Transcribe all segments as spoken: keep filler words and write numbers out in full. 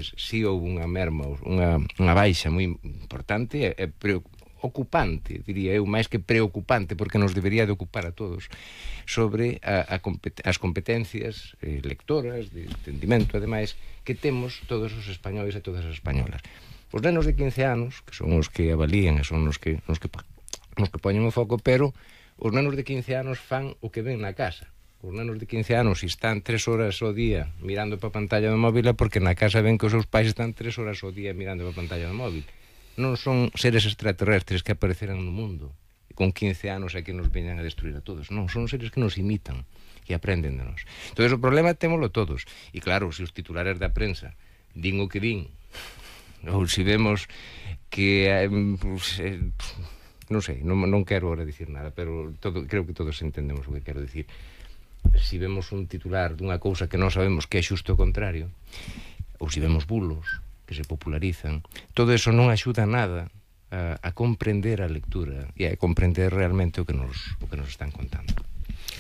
si houve unha merma, unha, unha baixa moi importante e, e preocupante, diría eu, máis que preocupante, porque nos debería de ocupar a todos, sobre a, a compet as competencias eh, lectoras, de entendimento, ademais, que temos todos os españoles e todas as españolas. Os nenos de quince anos, que son os que avalían e son os que, os que, os que poñen o foco, pero os nenos de quince anos fan o que ven na casa. Os nenos de quince anos, se están tres horas ao día mirando para a pantalla do móvil, é porque na casa ven que os seus pais están tres horas ao día mirando para a pantalla do móvil. Non son seres extraterrestres que apareceran no mundo e con quince anos é que nos veñan a destruir a todos. Non, son seres que nos imitan e aprenden de nós. Entón, o problema témolo todos. E claro, se os titulares da prensa din o que din, ou se vemos que eh, pues, eh, non sei, non, non quero ahora dicir nada, pero todo, creo que todos entendemos o que quero dicir. Se vemos un titular dunha cousa que non sabemos que é xusto o contrario, ou se vemos bulos que se popularizan, todo eso non axuda nada a, a comprender a lectura e a comprender realmente o que nos, o que nos están contando.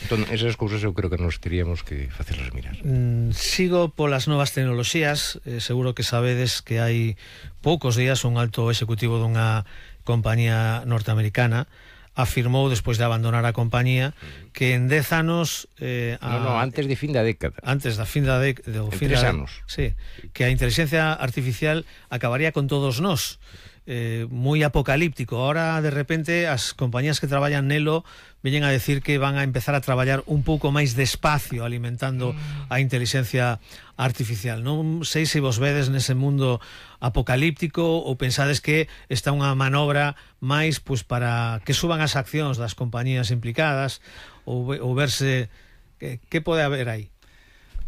Entón, esas cousas eu creo que nos teríamos que facerlas mirar. Mm, sigo polas novas tecnoloxías. eh, seguro que sabedes que hai poucos días un alto executivo dunha compañía norteamericana afirmou, despois de abandonar a compañía, que en dez anos eh, a, no, no, antes de fin da década antes da fin da década en fin tres da, anos sí, que a inteligencia artificial acabaría con todos nós. Eh, moi apocalíptico. Ahora, de repente, as compañías que traballan nelo veñen a decir que van a empezar a traballar un pouco máis despacio, alimentando mm. a inteligencia artificial. Non sei se vos vedes nese mundo apocalíptico ou pensades que está unha manobra máis pois, para que suban as accións das compañías implicadas ou, ou verse que, que pode haber aí.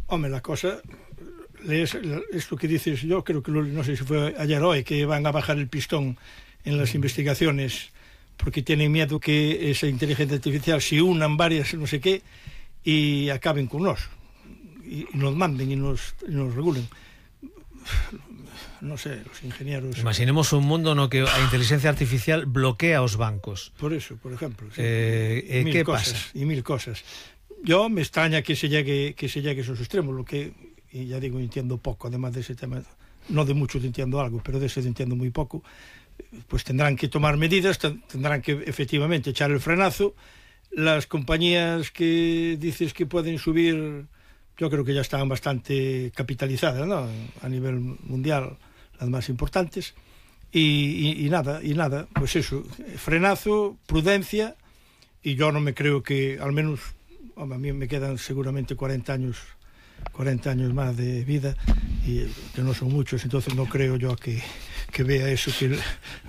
Home, la cosa... lees esto que dices, yo creo que lo, no sé si fue ayer o hoy, que van a bajar el pistón en las investigaciones porque tienen miedo que esa inteligencia artificial se unan varias no sé qué y acaben con nos y, y nos manden y nos, y nos regulen. No sé, los ingenieros... Imaginemos un mundo no que a inteligencia artificial bloquea os bancos. Por eso, por ejemplo. Sí. Eh, mil ¿Qué cosas, pasa? Y mil cosas. Yo me extraña que se llegue, que se llegue a esos extremos, lo que... y ya digo, entiendo poco, además de ese tema, no de mucho entiendo algo, pero de ese entiendo muy poco, pues tendrán que tomar medidas, tendrán que efectivamente echar el frenazo. Las compañías que dices que pueden subir, yo creo que ya están bastante capitalizadas, ¿no?, a nivel mundial, las más importantes, y, y, y nada, y nada, pues eso, frenazo, prudencia, y yo no me creo que, al menos, hombre, a mí me quedan seguramente cuarenta años cuarenta años más de vida y que no son muchos, entonces no creo yo que, que vea eso que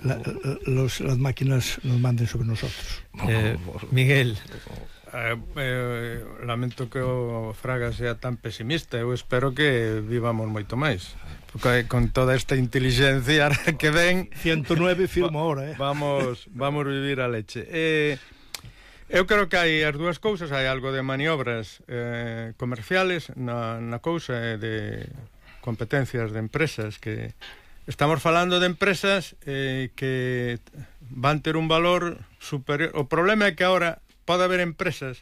la, los, las máquinas nos manden sobre nosotros. eh, Miguel, eh, eh, lamento que o Fraga sea tan pesimista. Eu espero que vivamos moito máis, porque con toda esta inteligencia que ven ciento nueve firmo ahora, eh? vamos, vamos vivir a leche. eh, Eu creo que hai as dúas cousas, hai algo de maniobras eh, comerciales na, na cousa eh, de competencias de empresas, que estamos falando de empresas eh, que van ter un valor superior. O problema é que agora pode haber empresas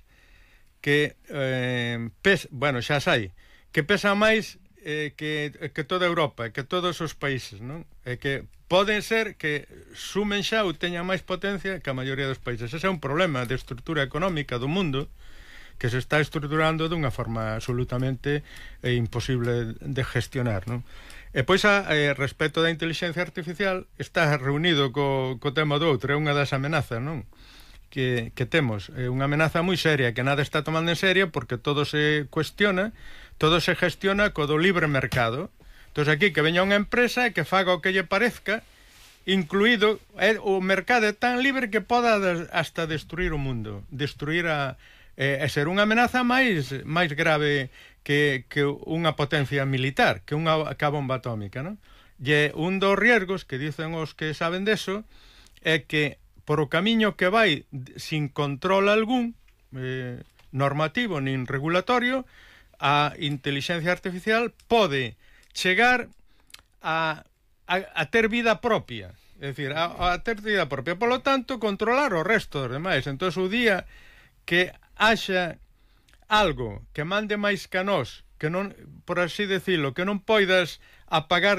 que eh, pes, bueno, xa sai, que pesan máis eh, que, que toda Europa, que todos os países, non? É que pode ser que sumen xa ou teñan máis potencia que a maioría dos países. Ese é un problema de estrutura económica do mundo que se está estruturando dunha forma absolutamente eh, imposible de gestionar, non? E pois, a eh, respecto da inteligencia artificial, está reunido co, co tema do outro, é unha das amenazas, non?, que, que temos. É unha amenaza moi seria, que nada está tomando en serio, porque todo se cuestiona, todo se gestiona co do libre mercado. Entón, aquí que veña unha empresa e que faga o que lle parezca, incluído é, o mercado é tan libre que poda hasta destruir o mundo, destruir a, e, e ser unha amenaza máis máis grave que, que unha potencia militar, que unha que a bomba atómica, non? E un dos riesgos que dicen os que saben deso é que por o camiño que vai sin control algún eh, normativo nin regulatorio, a inteligencia artificial pode chegar a, a, a ter vida propia, é dicir, a, a ter vida propia, polo tanto, controlar o resto dos demais. Entón, o día que haxa algo que mande máis que a nós, que non, por así decirlo, que non poidas apagar